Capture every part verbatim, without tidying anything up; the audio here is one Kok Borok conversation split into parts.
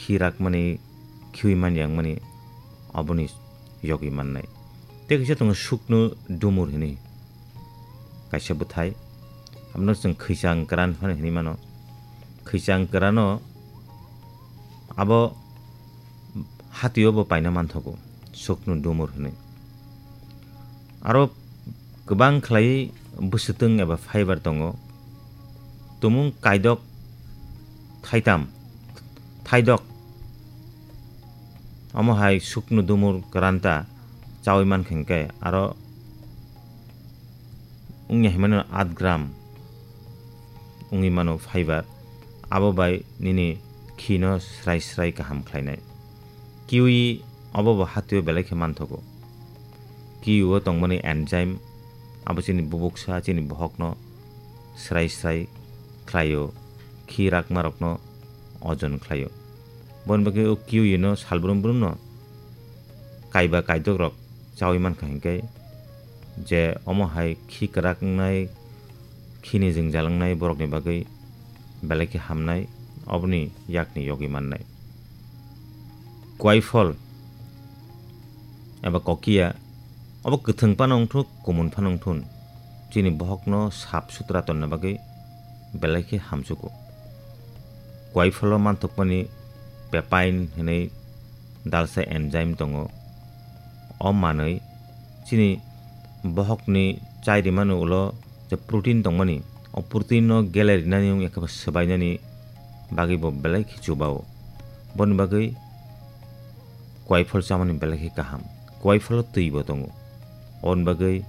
kirakmani, khiui manyangmani, oboni yogwi mannai. Tei kisa tongo sukno dumur hini kaisa bwthai. Abono chwng khwichang kwran phano hinwi mano. Khwichang kwrano abo hatio bo paina manthogo, sukno dumur hinwi. Aro kwbang khlaiwi bwswtwng eba fiber tongo. Tumung kaidok thaitam, thaidok. Omo hai sukno dumur kwranta chaui mankha hinkhe aro wngya hinmano aat gram wngwi mano fiber, abo bai nini khino srai srai kaham khlainai. Kiwi obo bo hatio belai khe manthogo. Kiwi o tongmani enzyme abo chini bubuksa chini bohokno srai srai khlaio, khi rakmarokno ojon khlaio. Boni bagwi o kiwi no salbrum brumno kaiba kaidok rok chaui mankha hinkhe je omo hai khi kwrak wngnai, khini jwngjal wngnai borokni bagwi belai khe hamnai, oboni yakni yogwi mannai. Kwai phol eba kokiya obo kwthwng phano wngthuk, kumun phano wngthun, chini bohokno sap sutra tonna bagwi belai khe hamsugo. Kwai pholo manthokmani papain hinwi dalsa enzyme tongo. O manwi chini bohokni chai rimani ulo je protein tongmani, o protein no gele rinani wng ekheba swbainani bagwi bo belai khe chubao. Boni bagwi kwai phol chamani belai khe kaham. Kwai pholo twi bo tongo. Oboni bagwi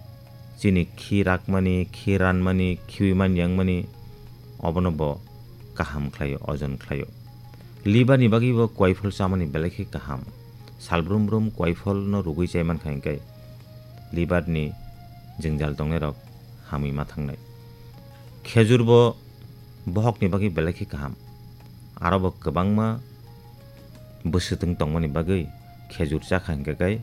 chini khi rakmani, khi ranmani, khiui manyangmani, obono bo kaham khlaio, ojon khlaio. Liver ni bagwi bo kwai phol chamani belai khe kaham. Salbrum brum kwai phol no rugwi chai mankha hinkhe liver ni jwngjal tongnairok hamwi ma thangnai. Khejur bo bohokni bagwi belai khe kaham. Aro bo kwbangma bwswtwng tongmani bagwi khejur chakha hinkhe kai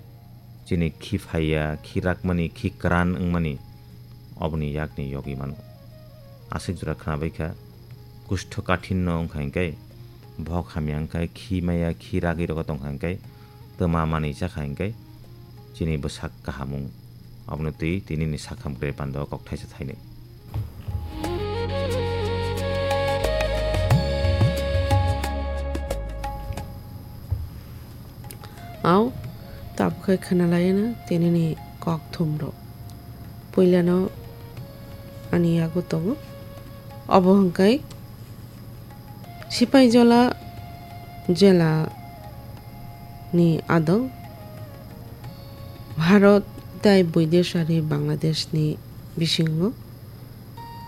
chini khi phaiya, khi rakmani, khi kwran wngmani oboni yakni yogwi mano. Aswk jora khwnabaikha, kustho kathinno wngkha hinkhe, bohok hamya wngkha, khi maya, khi ragwi rogo tongkha hinkhe, twma manwi chakha hinkhe, chini bwsak kaham wng. Abono twi tinini sakham kre pando kok thaisa thainwi. Au, tabukhe khwnalaiyano tinini kok thumrok. Puilano ani yago tongo. Obo hwnkhe Sipaijola jela ni adong Bharat tai Boideshari Bangladesh ni bisingo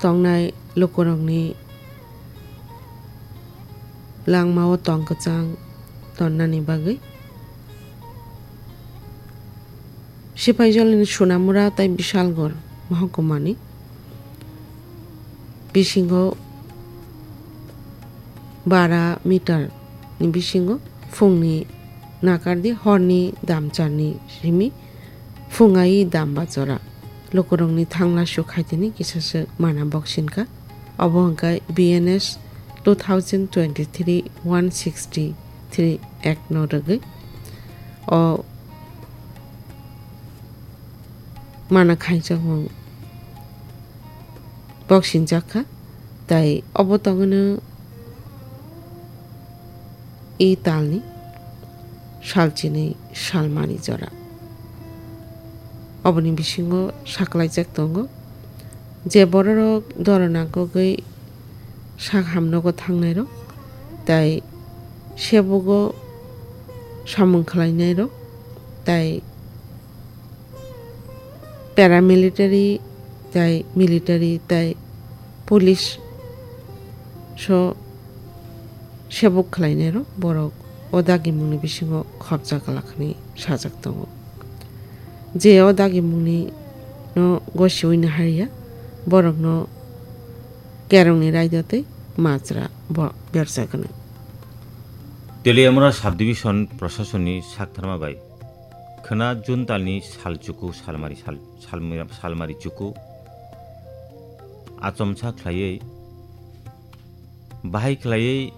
tongnai lukurokni langmao tong kwchang tonnani bagwi Sipaijolini Sonamura tai Bisalgor mohokuma ni bisingo bara meter ni bisingo phungni nakardi horni damcharni simi phungai damba jora. Lukurokni thangla suk haitini kisaswk mana boksinka. Obo hwnkhe B N S two thousand twenty-three one sixty-three Act no rwgwi o mana khaijakmung boksingjak kha, tai obo tongwino e talni salchinwi salmani jora. Oboni bisingo saklaijak tongo, je bororok dorona kogwi sak hamnogo thangnairok, tai sebugo samung khlainairok, tai paramilitary tai military tai police so sebuk khlainairok borok o dagimungni bisingo khopjak lakhani sajak tongo. Je o dagimungni no gosiwi naharya, borokno kerongni raida tei majra bo berjagano. Teliamura subdivision prosasonni saktharma bai khwna June talni sal chuku salmari sal-, salmira-, salmari chuku achomsa khlaiwi bahai khlaiwi